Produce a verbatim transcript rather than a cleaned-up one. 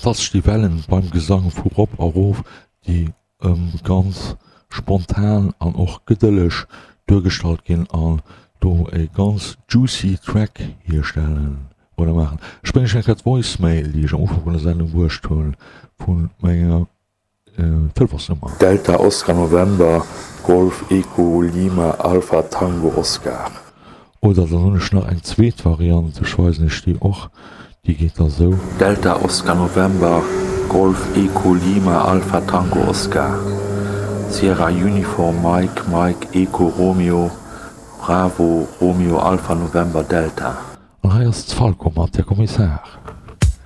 Fantastesch déi Wellen beim Gesang vu rop a rof, déi ganz spontan an och gedëlleg duergestallt ginn an do e ganz juicy Track hierstellen oder maachen. Ech bréngen iech eng Kéier d'Voicemail, déi ech am Ufank vun der Sendung bruecht hunn, vu menger Telefonsnummer. Delta Oscar November Golf Echo Lima Alpha Tango Oscar. Oder dann hunn ech nach eng zweet Variant, ech weisen iech déi och, déi geet da sou. Delta Oscar November Golf Echo Lima Alpha Tango Oscar Sierra Uniform Mike Mike Echo Romeo Bravo Romeo Alpha November Delta. An hei ass d'Falco mat Der Kommissar.